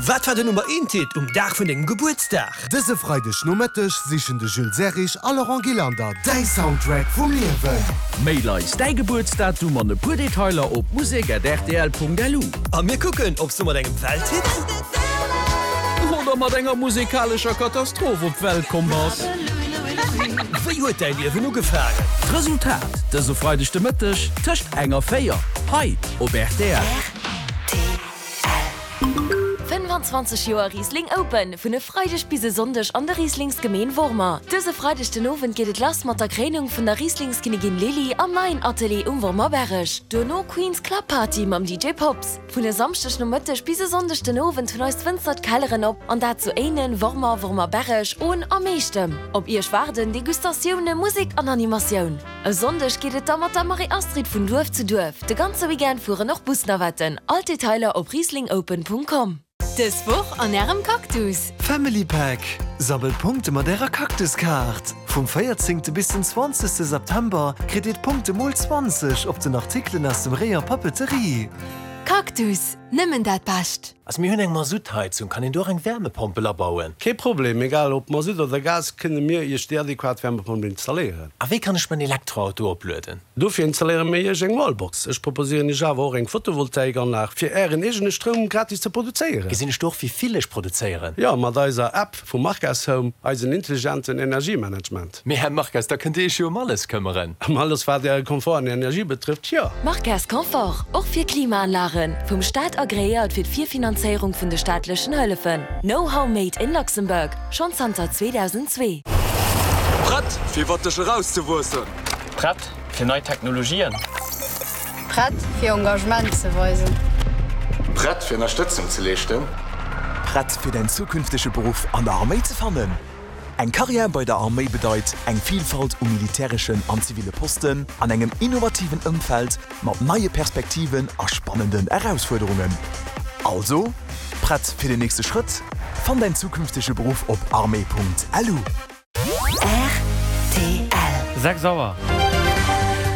Wat war den Nummer eent Hit um Dag vun dengem Gebuertsdag? Dëse Freideg Nomëtteg sichen de Jules Serrig a Laurent Gillander däi Soundtrack vum Liewen. Mail eis däi Gebuertsdatum an e puer Detailer op musek@rtl.lu. A mir kucken, ob s du mat engem Welthit. Oder mat enger musekalescher Katastroph op d'Welt komm bass. Wéi huet däi Liewen ugefaangen? D'Resultat dëse Freideg de Mëtteg tëscht eng a 4 hei op rtl. 25 Joer Riesling Open, vun e Freideg bis e Sonndeg an der Rieslingsgemeen Wormer. Dëse Freideg den Owend geet et lass mat der Kréinung vun der Rieslingskinnigin Lily am neien Atelier um Wormerberreg. Duerno Queen's Club Party mam DJ Pops. Vun e Samschdeg Nomëtteg bis e Sonndeg den Owend hunn eis Wënzer d'Kelleren op, an dat zu Éinen, Wormer, Wormerberreg, Ohn a Meechtem. Op Iech waarden Degustatioune, Musek an Animatioun. E Sonndeg geet et da mat der Marie-Astrid vun Duerf zu Duerf. De ganze Weekend fueren och Busnavetten. All d'Detailer op rieslingopen.com. Dës Woch an Ärem Cactus! Family Pack, Sammelt Punkte mat ärer Cactus-Kaart! Vum 14 bis den 20 September kritt dir d'Punkte mol 20 op den Artikelen aus dem Rayon Papeterie. Cactus, nëmmen dat Bescht! Also mir hunn eng Masuttheizung, kann een do och eng Wärmepompel abauen? Kee Problem, egal ob Masutt oder Gas, kënne mir Iech déi adequat Wärmepompel installéieren. A wéi kann ech mäin Elektroauto oplueden? Dofir installéiere mir Iech eng Wallbox. Ech proposéieren Iech awer och eng Photovoltaikanlag fir Ären eegene Stroum gratis ze produzéieren. Gesinn ech do och wéi vill ech produzéieren? Jo, mat eiser App vu Marques Home, eisen intelligenten Energiemanagement. Mee Här Marques, da kënnt Dir Iech jo ëm alles këmmeren. Ëm alles wat Äre Komfort an Energie betrëfft, jo. Marques Confort, och fir Klimaanlagen, vum Staat agreéiert fir d'Virfinanzéierung vun de staatlechen Hëllefen. Know-how made in Luxembourg, schonn zanter 2002. Prett fir iwwer dech erauszewuessen? Prett fir nei Technologien? Prett fir Engagement ze weisen? Prett fir Ënnerstëtzung ze leeschten? Prett fir däin zukünftege Beruff an der Arméi ze fannen? Eng Karriär bei der Arméi bedeit eng Vilfalt u militäreschen an ziville Posten an engem innovativen Ëmfeld mat neie Perspektiven a spannenden Erausfuerderungen. Also, prett fir den nächste Schrëtt? Fann däin zukünftege Beruff op armee.lu. Rtl. 6 Auer.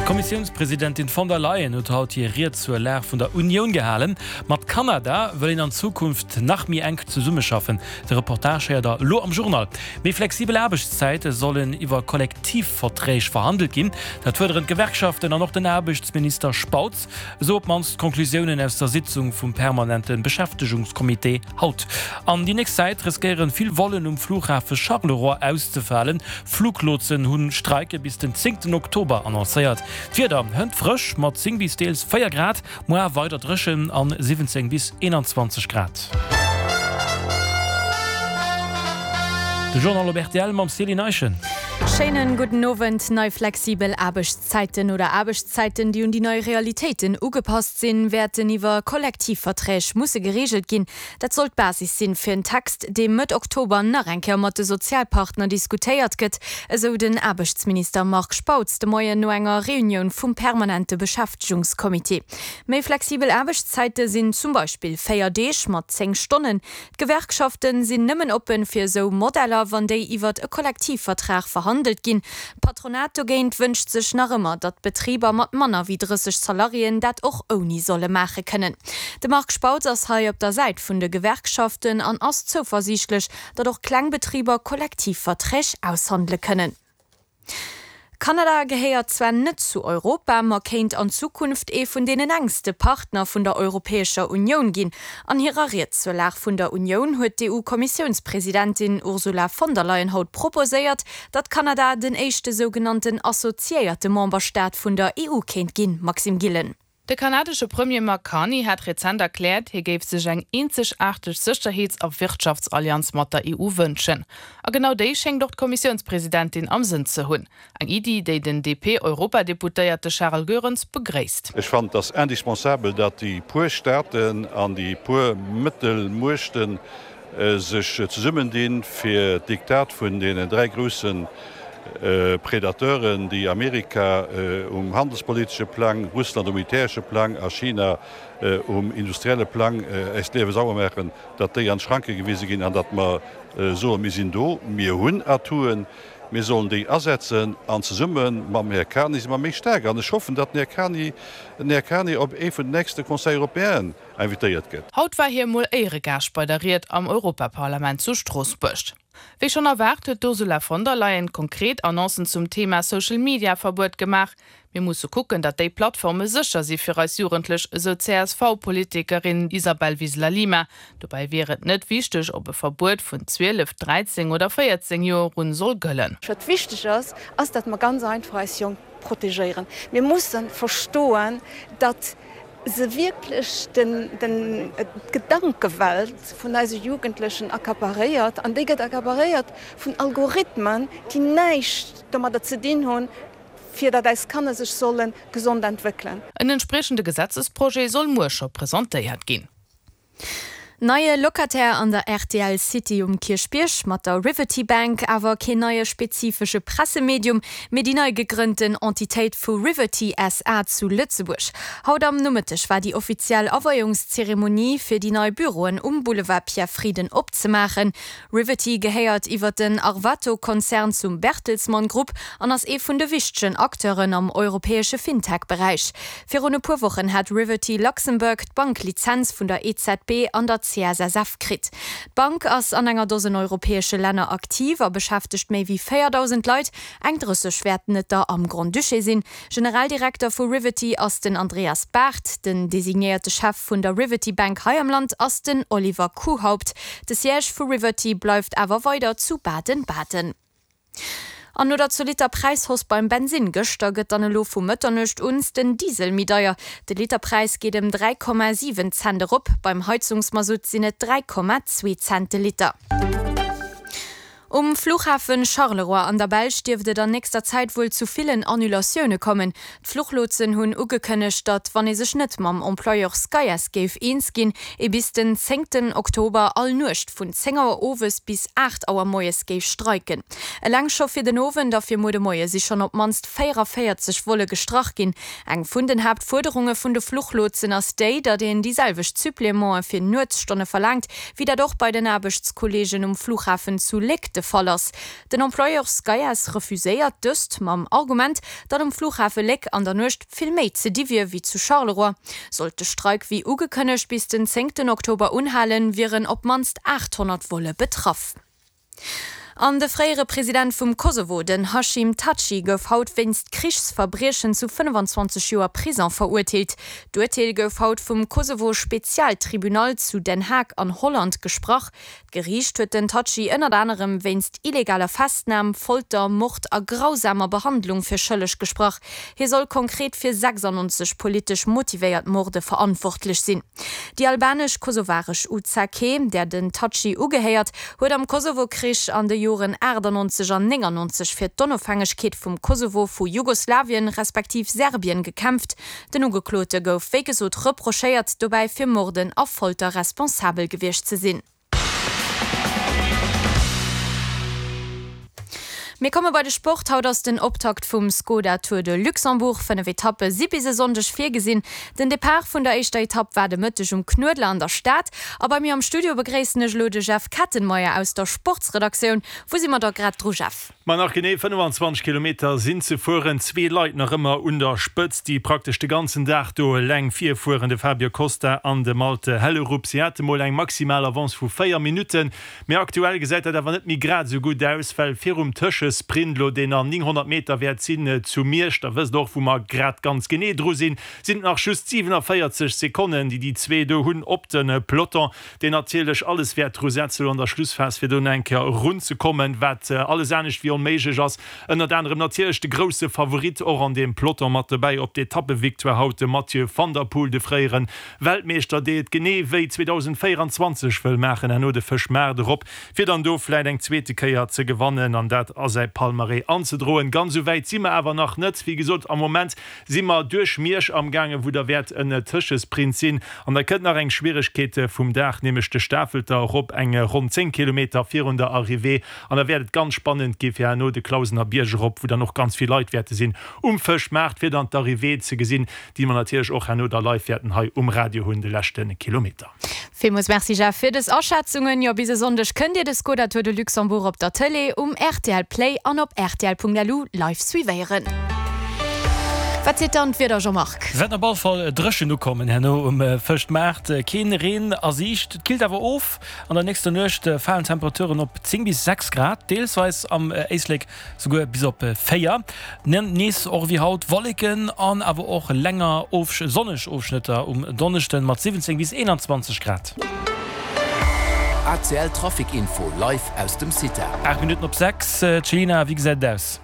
D'Kommissiounspresidentin von der Leyen huet haut hir Ried zur Lag vun der Unioun gehalen. Mat Kanada wëll een an Zukunft nach méi enk zesummeschaffen. De Reportage héiert der elo am Journal. Méi flexibel Aarbechtszäite sollen iwwer Kollektivverträg verhandelt ginn. Dat fuerderen d'Gewerkschaften an och den Aarbechtsminister Spautz. Esou op d'mannst d'Conclusiounen aus der Sitzung vum permanente Beschäftegungscomité haut. An déi nächst Zäit riskéieren vill Vollen um Flughafe Charleroi auszefalen. Fluglotsen hunn Streike bis den zéngten Oktober annoncéiert. D'Wieder hënt frësch mat 10 bis deels 4 Grad. Moar weider dréchen an 17 bis 21 Grad. De Journal op rtl mam Céline Eischen. Schéinen gudden Owend. Nei flexibel Aarbechtszäiten oder Aarbechtszäiten, déi un déi nei Realitéiten ugepasst sinn, wäerten iwwer Kollektivverträg musse gereegelt ginn. Dat soll d'Basis sinn fir en Text, dee Mëtt Oktober nach eng Kéier mat de Sozialpartner diskutéiert gëtt, esou den Aarbechtsminister Marc Spautz de Moien no enger Reunioun vum permanente Beschäftegungscomité. Méi flexibel Aarbechtszäite sinn zum Beispill 4 Deeg mat 10 Stonnen. D'Gewerkschafte sinn nëmmen oppen fir esou Modeller, wann déi iwwert e Kollektivvertrag verhandelt ginn. D'Patronat dogéint wënscht sech nach ëmmer, datt d'Betriber mat manner wéi 30 Salariéen dat och ouni solle maache kënnen. De Marc Spautz ass hei op der Säit vun de Gewerkschaften an ass zouversiichtlech, datt och kleng Betriber Kollektivverträg aushandele kënnen. Kanada gehéiert zwar net zu Europa, ma kéint an Zukunft ee vun deenen enkste Partner vun der Europäescher Unioun ginn. An hirer Ried zur Lag vun der Unioun huet d'EU-Kommissiounspresidentin Ursula von der Leyen haut proposéiert, datt Kanada den éischte sougenannten assoziéierte Memberstaat vun der EU kéint ginn. Maxime Gillen. De kanadesche Premier Mark Carney hat rezent erkläert, hie géif sech eng eenzegaarteg Sécherheets a Wirtschaftsallianz mat der EU wënschen. A genau déi schéngt och d'Kommissiounspresidentin am Sënn ze hunn. Eng Iddi, déi den DP-Europadeputéierte Charel Goerens begréisst. Ech fannen, et ass indispensabel, datt déi puer Staaten an déi puer Mëttelmuechte sech zesummendinn, fir d'Diktat vun deenen dräi grousse Predateuren, déi Amerika um handelspolitesche Plang, Russland um militäresche Plang a China um industrielle Plang äis d'Liewe sauer maachen, datt déi an d'Schranke gewise ginn an datt mer soen, mir sinn do, mir hunn Atouen. Mir sollen déi asetzen an zesumme mam Här Carney si mer méi staark. An ech hoffen, datt den Här Carney, den Här Carney op ee vun den nächste Conseil européenen invitéiert gëtt. Haut war hie mol Éieregaascht bei der Ried am Europaparlament zu Stroossbuerg. Wéi schonn erwaart huet d'Ursula von der Leyen konkret Annoncen zum Thema Social-Media-Verbuet gemaach. Mir musse kucken, datt déi Plattforme sécher si fir eis Jugendlech, esou d'CSV-Politikerin Isabel Wiseler-Lima. Dobäi wier et net wichteg, ob e Verbuet vun 12, 13 oder 14 Joer un soll gëllen. Wat wichteg ass, ass datt mer ganz einfach eis Jonk protegéieren. Mir musse verstoen, datt se wierklech d'Gedankewelt vun eise Jugendlechen accaparéiert, an déi gëtt accaparéiert vun Algorithmen, déi näischt domadder ze dinn hunn, fir datt eis Kanner sech solle gesond entwéckelen. En entspriechende Gesetzesprojet soll muer scho presentéiert ginn. Neie Locataire an der rtl City um Kierchbierg, mat der Riverty Bank awer keen neie spezifesche Pressemedium, mee déi nei gegrënnten Entitéit vu Riverty SA zu Lëtzebuerg. Haut am Nomëtteg war déi offiziell Aweiungszeremonie fir déi nei Büroen um Boulevard Pierre Frieden opzemaachen. Riverty gehéiert iwwer den Arvato-Konzern zum Bertelsmann Grupp an ass ee vun de wichtegen Acteuren am europäesche Fintech-Beräich. Virun e puer Wochen hat Riverty Luxembourg d'Banklizenz vun der EZB an der CSSF kritt. D'Bank ass an enger Dosen europäesche Länner aktiv a beschäftegt méi wéi 4.000 Leit, eng 30 wäerten et der am Grand-Duché sinn. Generaldirekter vu Riverty ass den Andreas Barth. Den designéierte Chef vun der Riverty Bank hei am Land ass den Oliver Kuhaupt. De Siège vu Riverty bleift awer weider zu Baden-Baden. An no der zolitter Präishausse beim Bensinn gëschter gëtt dann elo vu Mëtternuecht un den Diesel méi deier. De Literpräis geet ëm 3,7 Cent erop, beim Heizungsmasutt sinn et 3,2 Cent de Liter. Um Fluchhafen Charleroi an der Belsch dierft et an nächster Zäit wuel zu villen Annulatioune kommen. D'Fluchlotsen hunn ugekënnegt, datt, wann ee sech net mam Employeur Skyass géif eens ginn, ee bis den zéngten Oktober all Nuecht vun 10 Auer owes bis 8 Auer moies géif streiken. Eleng scho fir den Owend a fir muer de Moie si schonn op d'mannst 44 Volle gestrach ginn. Eng vun den Haaptfuerderunge vun de Fluchlotsen ass déi, datt een déi selwecht Supplémente fir Nuetsstonne verlaangt, wéi dat och bei den Aarbechtskolleegen um Flughafen zu Léck de Fall ass. Den Employeur Skyass refuséiert dëst mam Argument, datt um Flughafe Léck an der Nuecht vill méi ze di wier wéi zu Charleroi. Sollt de Streik wéi ugekënnegt bis den zéngten Oktober unhalen, wieren op d'mannst 800 Volle betraff. An de fréiere President vum Kosovo, den Hashim Thaçi, gouf haut wéinst Krichsverbriechen zu 25 Joer Prison verurteelt. D'Urteel gouf haut vum Kosovo-Spezialtribunal zu Den Haag an Holland gesprach. D'Geriicht huet den Thaçi ënnert anerem wéinst illegaler Festnam, Folter, Mord a grausamer Behandlung fir schëlleg gesprach. Hie soll konkret fir 96 politesch motivéiert Morde verantwortlech sinn. Déi albanesch-kosovaresch UCK, där den Thaçi ugehéiert, huet am Kosovo-Krich an de Joren 98 an 99 fir d'Onofhängegkeet vum Kosovo vu Jugoslawien respektiv Serbien gekämpft. Den Ugeklote gouf wéi gesot reprochéiert, dobäi fir Morden a Folter responsabel gewiescht ze sinn. Mir komme bei de Sport. Haut ass den Optakt vum Skoda Tour de Luxembourg. 5 Etappe si bis e Sonndeg virgesinn. Den Depart vun der éischter Etapp war de Mëtteg um Knuedler an der Stad. A bei mir am Studio begréissen ech elo de Jeff Kettenmeyer aus der Sportsredaktioun. Wou si mer da grad dru, Jeff? Ma nach genee 25 Kilometer sinn ze fueren. Zwee Leit nach ëmmer un der Spëtzt, déi praktesch de ganzen Dag do eleng virfueren, de Fabio Costa an de Malte Hellerup. Si hate mol eng maximal Avance vu 4 Minutten, mee aktuell gesäit dat awer net méi grad esou gutt aus, well virum Tëschesprint elo, deen an 900 Meter wäert sinn zu Miersch, der wësst och wou mer grad ganz genee dru sinn, sinn et nach just 47 Sekonnen, déi déi zwee do hunn op de Peloton. deen natierlech alles wäert dru setzen elo an der Schlussphas, fir do nach eng Kéier erunzekommen, wat alles anescht wéi onméiglech ass. Ënnert anerem natierlech de grousse Favorit och an deem Peloton mat dobäi op d'Etappevictoire haut, de Mathieu van der Poel, de fréiere Weltmeeschter, dee et genee wéi 2024 wëll maachen, herno de Fëschmaart erop, fir dann do vläit eng zweete Kéier ze gewannen an dat a säi Palmarès anzedroen. Ganz esou wäit si mer awer nach net. Wéi gesot, am Moment Si mer duerch Miersch amgaangen, wou da wäert en Tëschesprint sinn. An da kënnt nach eng Schwieregkeet vum Dag, nämlech de Stafelter erop, eng ronn 10 Kilometer virun der Arrivée. An da wäert et ganz spannend gi fir herno de Clausener Bierg erop, wou dann och ganz vill Leit wäerte sinn um Fëschmaart, fir dann d'Arrivée ze gesinn, déi mer natierlech och herno da live wäerten hei um Radio hunn, de leschte Kilometer. Villmools Merci Jeff fir des Aschätzungen. Jo, bis e Sonndeg kënnt Dir de Skoda Tour de Luxembourg op der Tëlee, um rtl Play an op rtl.lu live suivéieren. Wat seet dann d'Wieder Jean-Marc? Wäert op all Fall dréchen ukommen herno um Fëschtmaart. Keen Reen a Siicht, et killt awer of. An der nächster Nuecht falen d'Temperaturen op 10 bis 6 Grad, deelsweis am Éislek Souguer bis op 4. Nees och ewéi haut Wolleken an awer och länger sonneg Ofschnëtter um Donneschden mat 17 bis 21 Grad. ACL Trafic Info live aus dem CITA. 8 Minutten op 6, Céline, wéi gesäit et aus?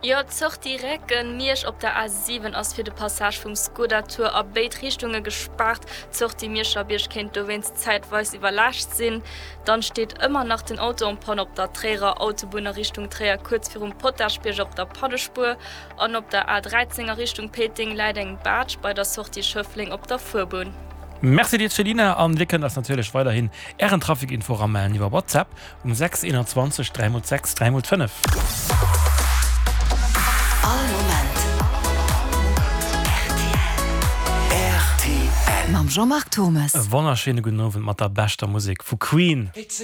Jo, d'Sortie Recken, Miersch op der A7 ass fir de Passage vum Skoda Tour a béid Richtunge gespaart. D'Sortie Mierscherbierg kéint dowéinst zäitweis iwwerlaascht sinn. Dann steet ëmmer nach den Auto en panne op der Tréierer Autobunn a Richtung Tréier kuerz virum Potaschbierg op der Pannespuer an op der A13 a Richtung Péiteng läit eng Baatsch bei der Sortie Schëffleng op der Fuerbunn. Merci dir Céline an dir kënnt eis natierlech weiderhin ären Trafic-Info eramellen iwwer WhatsApp um 6 21 3 x 6 3 x 5. All Moment rtl. Mam Jean-Marc Thommes. E wonnerschéine gudden Owend mat der beschter Musek vu Queen.